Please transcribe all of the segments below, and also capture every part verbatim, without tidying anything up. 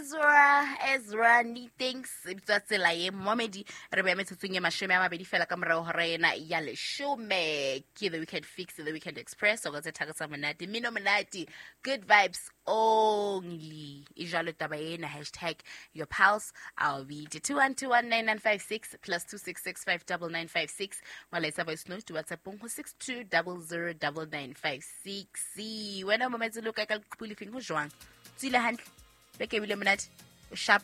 Ezra, Ezra Neatings e bitswa tsela ye momedi re beya metsotsong e mashome a mabedi fela ka morao hora ena ya leshome. Ke The Weekend Fix, The Weekend Express, o ka tse thaka tsa monate, mmino monate, good vibes only. E jwalo taba ena, hashtag your pulse, I'll be two one two one nine nine five six plus two six six five double nine five six. Molaetsa voice note WhatsApp ho six two double zero double nine five six. Wena mometse lo ka ka leqhubu lefeng ho jwang? Tswile hantle, beke ebile monate, o sharp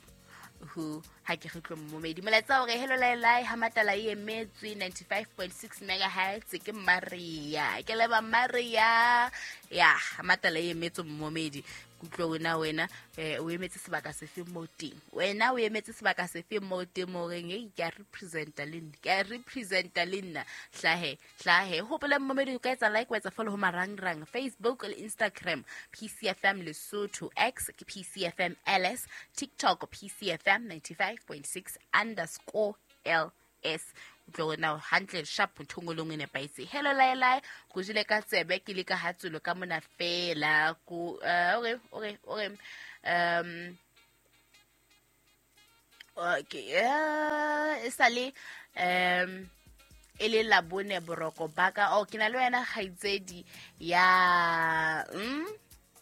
ho ha ke re tlo momedi. Molaetsa hore hello lai lai ha matala e emetswe ninety-five point six megahertz ke Maria. Ke leba Maria. Ya, ha matala e emetswe momedi. Kutlwa wena wena eh o emetse sebaka sefe mo teng? Wena o emetse sebaka sefe mo teng mo reng e ke a representa le nna. Ke a representa le nna. Hlahe, hlahe. Hopola momedi o ka etsa like, wa etsa follow ho marangrang Facebook le Instagram P C F M Lesotho, X ke P C F M L S, TikTok P C F M ninety-five point six underscore L S. Utlwa wena hantle sharp nthongolong e nepahetse. Hello lai lai, go jele ka tsebe ke le ka hatsulo ka mona fela ko okay okay okay um okay eh sale um e le la bone boroko baka o ke na le wena kgaitsedi ya mm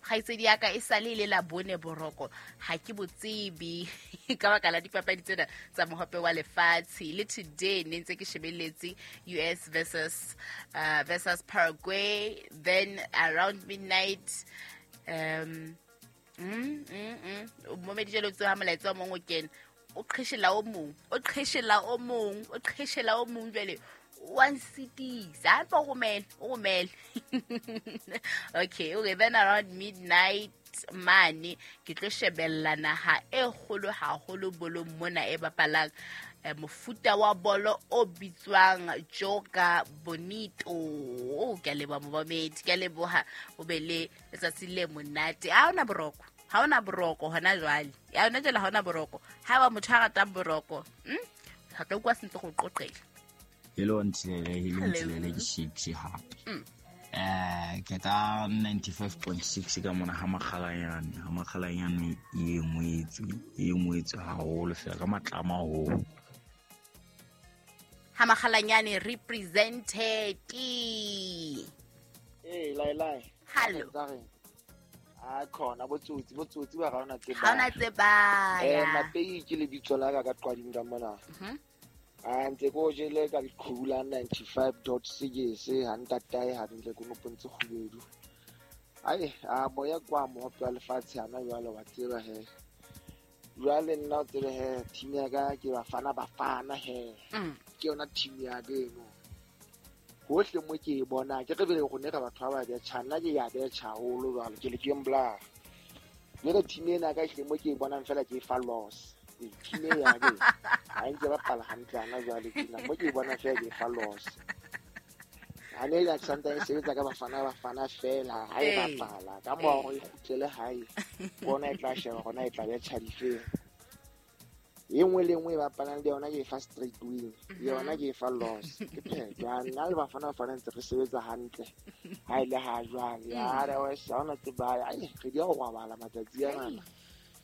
kgaitsedi ya ka e sale le la bone boroko ha ke botsebe ka baka la dipapadi tsena tsa mohope wa lefatshe. Le today ne ntse ke shebeletse U S versus uh, versus Paraguay, then around midnight um mm mm mm momedi jalo tsoha molaetsa o mong o kena o qheshela o mong o qheshela o mong o qheshela o mong jwale one city sa pa romela o romela. Okay, okay, then around midnight mane ke tlo shebella naha e kgolo haholo bolong mona e bapalang mofuta wa bolo o bitswang Joga Bonito. O ke a leboha momedi, ke a leboha o be le letsatsi le monate. Ha ona boroko, ha ona boroko hona jwale, ya hona jwale ha ona boroko. Ha ba motho a ratang boroko hm ha tlo kwa sentse go qoqela. Hello Ntilele, hello Ntilele ke Shakes hape. Eh ke ta ninety-five point six ka mona ha makgalanyane, ha makgalanyane e ngwetswe, e ngwetswe haholo fela ka matlama ho. Ha makgalanyane represented. Eh lai lai. Hello. A khona botsotsi, botsotsi ba ga ona tseba. Ha ona tseba. Eh Mapei ke lebitso la ka ka qwading ka mona. Mhm. A ntse ko jele ka leqhubu la ninety-five point six ha ntatae hantle ko nopontse kgubedu. Ai a moya kwa mohope wa lefatshe hana jwale wa tseba he. Jwale nna o tsebe he team ya ka ke Bafana Bafana he. Ke yona team ya ka eno. Hohle mo ke e bona ke re bele rone re batho ba ba betjha, nna ke ya betjha haholo jwale ke le ke mbla. Jwale team ena ka hle mo ke e bonang fela ke e fa loss. Team ya ke ha ntse ba pala hantle ana jwale ke nna mo ke bona fela ke fa loss. Ha ne ya santa e sebetsa ka Bafana Bafana fela ha e bapala ka mo go ikgutlele hae bona e tla sheba gona e tla be tshadifeng. E nngwe le nngwe e bapalang le yona ke fa straight win, yona ke fa loss. Ke phetho nna le Bafana Bafana ntse re sebetsa hantle ha ile ha jwale ya re wa sa tseba ai re di go robala matsatsi ana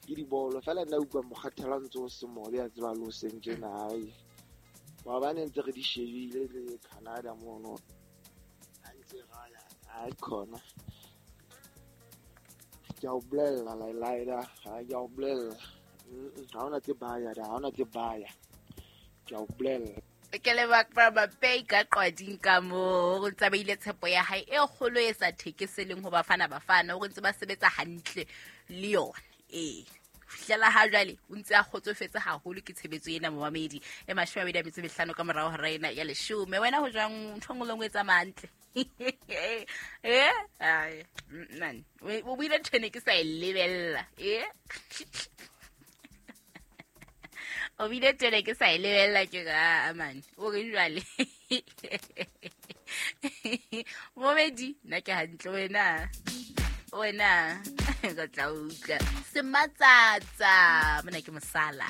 ke dibolo fela nna utlwa mokgathela ntse o se mobe a tseba lo seng tjena ai maobane ntse re di shebile le Canada mono ha ntse raya ai khona ke a o bolella lai lai da ha ke a o bolella ha ona tse baya da ha ona tse baya ke a o bolella. Ke leba ba Mapei ka qwading ka mo go tsabeile tshepo ya hae e kgolo e sa thekeseleng ho Bafana Bafana o ntse ba sebetsa hantle le yona. Eh fihlela ha jwale o ntse a kgotsofetse haholo ke tshebetso ena momamedi e mashome a mabedi a metso e mehlano ka morao hora ena ya leshome. Wena ho jwang ntho nngwe le nngwe e tsamaya hantle? Eh ai man o buile ntho ene ke sa e lebella eh o buile ntho ene ke sa e lebella ke ga man o re jwale momedi nna ke hantle wena wena ka tla utlwa sematsatsa mona ke mosala.